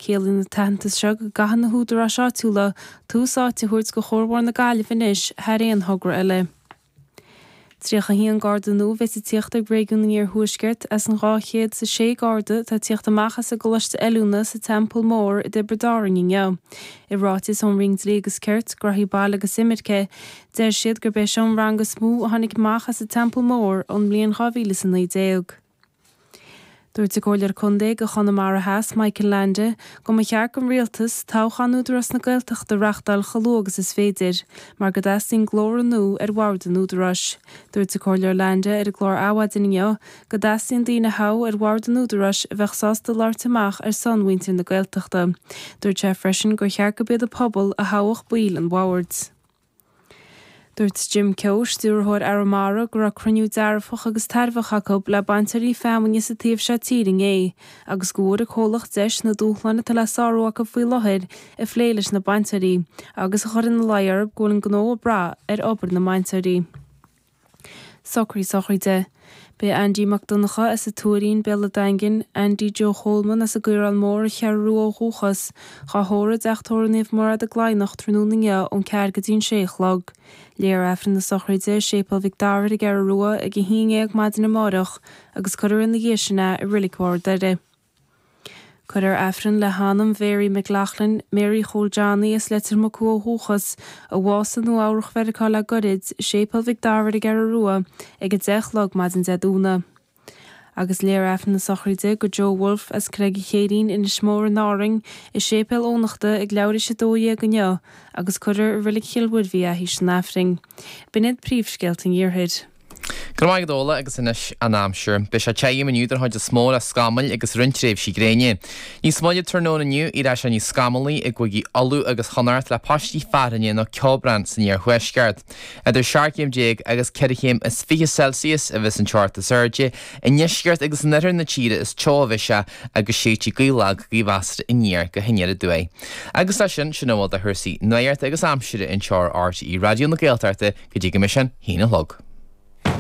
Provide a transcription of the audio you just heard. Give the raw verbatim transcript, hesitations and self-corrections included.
Ciallaíonn an t-aitheantas seo go gcaithfidh na húdaráis áitiúla tús áite a thabhairt do chuarbhóthar na Gaillimhe anois thar aon thogra eile. Tríocha a haon Garda nua a bheas ag tíocht ag réigiún an Iarthuaiscirt as an dhá chéad is a sé Garda atá ag tíocht amach as an gColáiste Oiliúna sa Teampall Mór i dTiobraid Árann inniu. I ráiteas ón Roinn Dlí agus Cirt, Gnóthaí Baile agus Imirce, deir siad gurb é seo an rang is mó a tháinig amach as an Teampall Mór ón mbliain dhá mhíle is a naoi déag. Dúirt an Comhairleoir Contae do Chonamara Theas, Michael Leainde, go mba cheart don Rialtas toghchán Údarás na Gaeltachta a reáchtáil chomh luath agus is féidir, mar go dteastaíonn glór nua ar bhord an Údaráis. Dúirt an Comhairleoir Leainde ar an gclár Adhmhaidin inniu go dteastaíonn daoine a thoghadh ar bhord an Údaráis a bheadh sásta labhairt amach ar son mhuintir na Gaeltachta. Dúirt sé freisin gur cheart gurb iad an pobal a thoghfadh baill an bhoird. Dúirt Jim Keogh, stiúrthóir Arramara, go raibh cruinniú dearfach agus tairbheach acu le bainteoirí feamainne sa taobh seo tíre inné, agus go bhfuair an comhlacht deis na dúshláin atá le sárú acu faoi láthair a phlé leis na bainteoirí, agus a chur ina luí orthu go bhfuil an gnó ag brath ar obair na mbainteoirí. Socruithe sochraide. Beidh Andy Mac Donncha as an Tuairín, Béal an Daingin, Andy Joe Cholman as an gCaorán Mór, an Cheathrú Rua ó dhúchas, dhá thórramh i dteach tórraimh Naomh Mairéad i gCladhnach tráthnóna inniu ón ceathair go dtí an sé a chlog. Léifear Aifreann na sochraide i Séipéal Mhic Dara ar an gCeathrú Rua ag a haon dhéag maidin amáireach agus cuirfear ina dhiaidh sin é i Reilig Bharr Doire. Cuirfear Aifreann le hanam Mhary McLaughlin, Mary Chóil Johnny as Leitir Mucú ó dhúchas, a bhásaigh i Nua Eabhrach Mheiriceá le goirid, i Séipéal Mhic Dara ar an gCeathrú Rua ag a deich a chlog maidin Dé Domhnaigh. Agus léifear Aifreann na sochraide do Joe Wolfe as Creag an Chéirín, Inis Mór in Árainn, i Séipéal Eoghanachta ag leathuair théis a dó dhéag inniu agus cuirfear i Reilig Chill Mhuirbhigh é théis an Aifrinn. B'in iad príomhscéalta an Iarthair. Go raibh maith agat Ola agus anois an aimsir. Beidh sé tirim inniu den chuid is mó le scamaill agus roinnt tréimhsí gréine. Níos moille tráthnóna inniu éireoidh sé níos scamallaí i gcúigí Uladh agus Chonnacht le paistí fearthainne nó ceobhrán san iarthuaisceart. Idir seacht gcéim déag agus ceithre chéim is fiche Celsius a bheas an teocht is airde i ndeisceart agus in oirthear na tíre is teo a bheidh sé agus séidfidh gaoth lag gaoth mheasartha aniar go haniar aduaidh. Agus leis sin sin a bhfuil de chúrsaí nuachta agus aimsire anseo ar RTÉ Raidió na Gaeltachta go dtí go mbeidh sé an haon a chlog.